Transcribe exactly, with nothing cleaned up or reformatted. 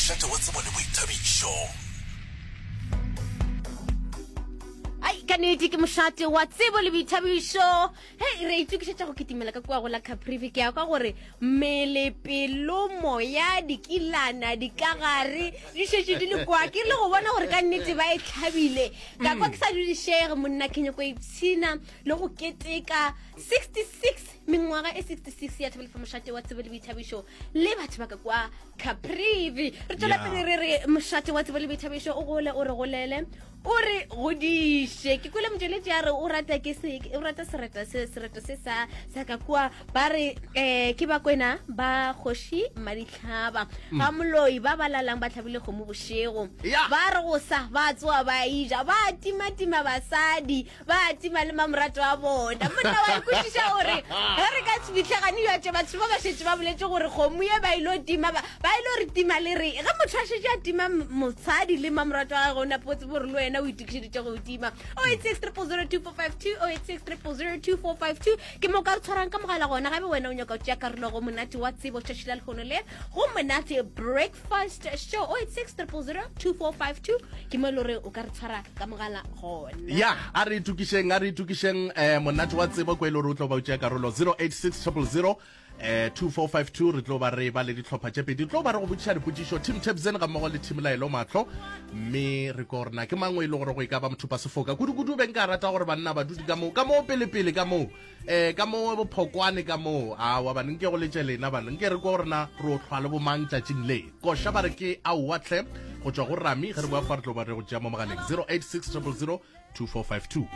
Mošate wa tsebo le boithabišo. Ai, ka nnete ke mošate wa tsebo le boithabišo. Hei, re itokišetša go kitimela ka kua go la Caprivi. Ke ya kwa gore mmele, pelo, moya, dikilana, dikagare di šetše di le kwa. Ke rile go bona gore ka nnete ba e hlabile, ka kwa ke sa dudišege monna, ke nyako ipshina le go keteka sixty-six mengwaga e sixty-six ya Thobela fa mošate wa tsebo le boithabišo le batho ba ka kwa Caprivi. Re tšwela Yeah. pele re re mošate wa tsebo le boithabišo o gole, o re golele, o re godiše. Ke kwele motšweletši a re o rata ke se, o rata sereto se, sereto se sa, sa ka kua. Ba re eh, ke bakwena ba kgoši Madihlaba ga moloi ba ba lalang ba hlabile kgomo bošego. Yeah. Ba re go sa ba tsoa ba ija, ba timatima basadi, ba tima le mamorato a bona. Monna wa ikwešiša gore ge re ka se fitlhegane yo tše batho ba ba šetše ba boletše gore kgomo ye ba ilo tima, ba, ba ilo re tima le re ge motho a šetše a tima m-, mosadi le mamorato a gagwe, o nape o tsebe gore le wena o itokišeditše go tima. oh eight six triple zero two four five two, oh eight six triple zero two four five two ke mo ka re tshwarang ka mogala gona. Gabe wena o nyaka go tšea karolo go monate wa tsebo tšatši la lehono le go monate breakfast show, oh eight six triple zero two four five two ke mo e le gore o ka re tshwara ka mogala gona. Ya, a re itokišeng, a re itokišeng, eh, monate wa tsebo ko e le gore o tlo ba o tšea karolo zero eight six triple zero, eh, two four five two. Re tlo ba re ba le dihlopha tše pedi, tlo ba re go botšiša dipotšišo, Team Tabsen ga mmogo le Team Laelo Mahlo, mme re ko rena ke mangwe e le gore go e ka ba mothupa sefoka kudu-kudu. Be nka rata gore banna ba dudi ka moo, ka moo pele-pele, ka moo, eh, ka moo bophokwane, ka moo awa bane nke go letše lena bane nke re ko rena re o hlwa le bomang tšatšing le koša ba re ke aowa tlhe go tšwa go Rami. Ge re boa fa re tlo ba re go tšea mo mogaleng zero eight six triple zero two four five two.